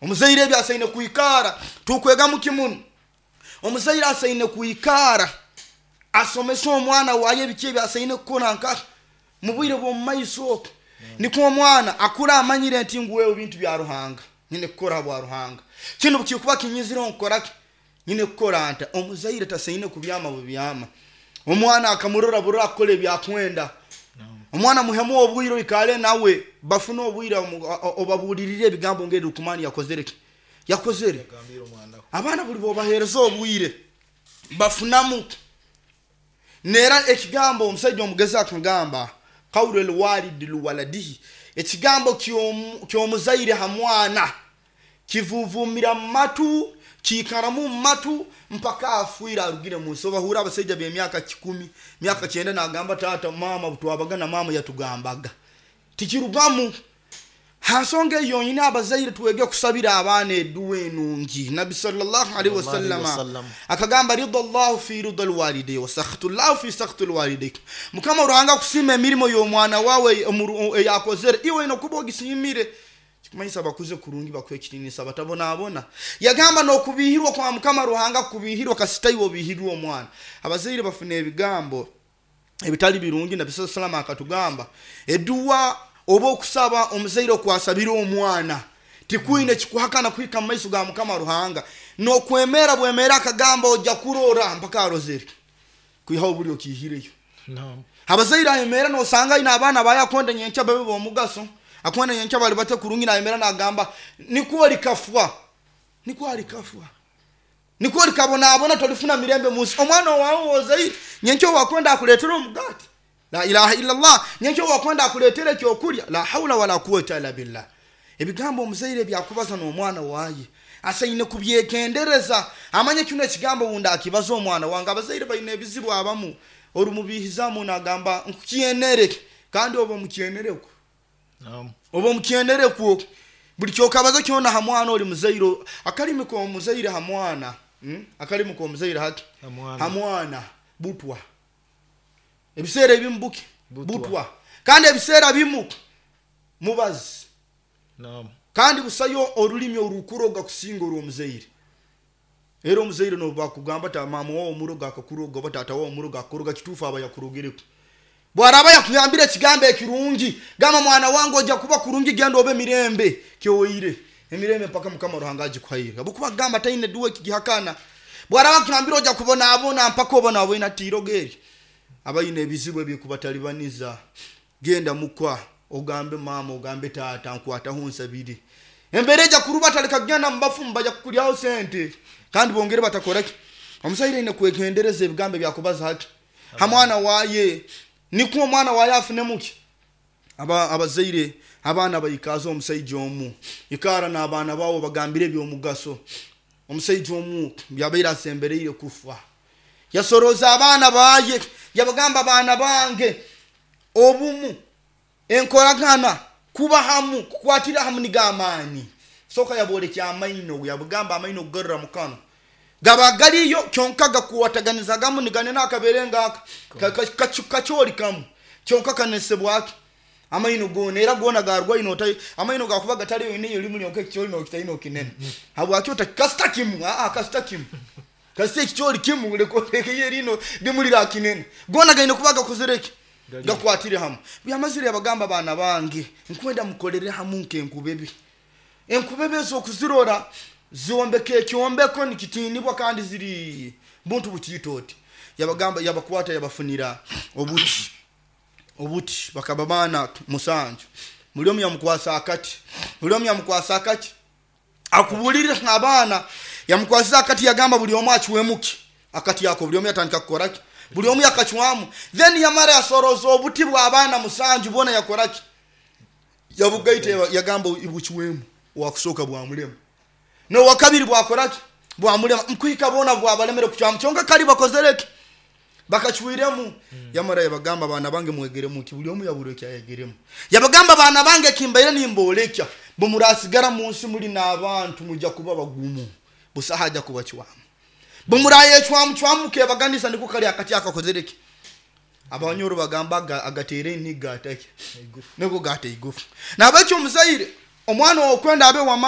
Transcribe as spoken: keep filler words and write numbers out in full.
Omuzaire ebyo asaine kwikara tukwegamu kimuno. Omuzaire asaine kwikara asomesa omwana waye ebiki ebyo asaine kukora nka mu bwire bw'omu maiso okwo, nikwo omwana akura amanyire nti ngu wewe bintu bya Ruhanga nyine kukora bwa Ruhanga, kinu kikuba kinyizireho nkukoraki, nyine kukora nta. Omuzaire tasaine kubyama bubyama omwana akamurora burora akukora ebyakwenda. Omwana muhemu obwire, oikale nawe, bafune obwire, obabulirire ebigambo ngeri Lukumani yakozere ki yakozere abaana. Buli bobahereza obwire bafunamu nera ekigambo. Omusajja omugezi akagamba qawlu lwalidi liwaladihi, ekigambo kyomuzaire ha mwana kivuvumira mumatu, kiikaramu mumatu mpaka afwire arugire munsi. Obahura abasaija b'emyaka kikumi, myaka kyenda, nagamba tata mama twabaga na mama yatugambaga, tikirugamu. Hansonga eyo yonyini, abazaire twege kusabira abaana eduwa enungi. Nabi sallallahu alaihi wasallam akagamba rida llahu fi rida lwalidei wa sakhtu llahu fi sakhtu lwalidei. Mukama Ruhanga kusima emirimo y'omwana wawe eyakozere, iwe ina kuba ogisimire, kikumanyisa bakuze kurungi, bakuhe ekitinisa, batabonabona. Yagamba n'okubihirwa kwa Mukama Ruhanga kubihirwa kasita iwe obihirwe omwana. Abazaire bafuna ebigambo ebitali birungi. Nabi sallallahu alaihi wasallam akatugamba eduwa oba okusaba omuzaire okwasabira omwana tikwine kikuhakana kuhika mumaiso ga Mukama Ruhanga, nokwemera bwemera. Akagamba ojja kurora mpaka arozere kwihaho buli okihireyo. Abazaire ayemera nosanga aine abaana bayakonda nyenkya babe bomugaso, akwenda nyenkya bali bate kurungi, nayemera nagamba nikwo likafwa, nikwo alikafwa, nikwo likabonabona, tolifuna mirembe munsi. Omwana wawe wozaire nyenkya wakwenda akuletera omugati, la ilaha illallah, nyenkya wakwenda akuletera ekyokulya, la haula wala quwata illa billah. Ebigambo omuzaire byakubaza n'omwana waye asaine kubyegendereza, amanye kino ekigambo wundi akibaza omwana wange. Abazaire baine ebizibu abamu orumubihizamu nagamba nkukyenere, kandi oba omukyenerekwo, oba omukyenerekwo buli kyokabaza kyona ha mwana oli muzaire. Akalimi k'omuzaire ha mwana, hmm? Akalimi k'omuzaire hati ha mwana butwa, ebiseera ebimu buki butwa, kandi ebiseera bimu mubazi, kandi busayo orulimi orukuroga kusinga orw'omuzaire. Era omuzaire nobakugamba ta mama wawe omuroga akakuroga oba tata wawe omuroga akakuroga, kituufu aba yakurogereku. Bwaraba yakugambire ekigambo ekirungi, gamba mwana wange ojja kuba kurungi, genda obe mirembe, kyoweire emirembe mpaka Mukama Ruhanga agikuhaire. Abukuba gamba taine duwe kigihakana. Bwaraba kugambire ojja kubonabona mpaka obonabona, tiroga eri abaine ebizibu ebikubatalibaniza, genda mukwa ogambe mama ogambe tata nkwataho nsabire embera ejja kuruba. Taleka kugenda mubafumu, bajja kukulyaho sente kandi bongere batakoraki. Omuzaire aine kwegendereza ebigambo ebyakubaza hati ha mwana waye, nikwo omwana waye afune muki. Aba abazaire abaana baikaza omusaija omu ikara n'abaana bawe bagambire ebyomugaso. Omusaija omu byabaire asembereire kufa, yasoroza abaana baye, yabagamba abaana bange, obumu, enkoragana, kuba hamu, kukwatira hamu niga amaani. Soka yabolekya amaino, yabugamba amaino kugarura mukano gaba galiyo kyonka gakuwataganizagamu niganena akabere ngaka kacholi kamu kyonka kanesebwaki amaino gona, era gona garwaine otai amaino gakuba gataliyo ine limu lyonka ekicholi nokitaino kinene habwaki ota kasita kimu aa kasita kimu kasita ekicholi kimu lekolekeye lino limulira kinene gona gaine kuba gakozereki gakwatire hamu. Byamazire yabagamba baana bange nkwenda mukolere hamu nkenkubebe, enkubebe ezokuzirora ziombeka ekyombeko nikitinibwa kandi ziri buntu butiito oti. Yabagamba yabakwata yabafunira obuti obuti bakaba baana musanju, buli omu yamukwasa akati, buli omu yamukwasa akati akubulire abaana, yamukwasiza akati, yagamba buli omu acwemuki akati ako, buli omu yatandika kukoraki, buli omu yakacwamu. Then yamara yasoroza obuti bw'abaana musanju bona, yakoraki, yabugaita, yagamba bucwemu. Wakusooka bwamulema, nowakabiri bwakoraki, bwamulema, nkuhika bona bwabalemere kucwamu, kyonka kali bakozereki bakacwiremu. Yamara yabagamba abaana bange mwegeremu ki, buli omu yabura ekyayegeremu. Yabagamba abaana bange kimbaire nimbolekya, bumurasigara munsi muli n'abantu mujja kuba bagumu, busaha ajja kubacwamu, bumurayecwamu cwamu mukebaganisa niko kali akati akakozereki. Abanyoro bagamba agatere eniga ataki niko gata igufu. Nabekyo omuzaire omwana okwenda abe wama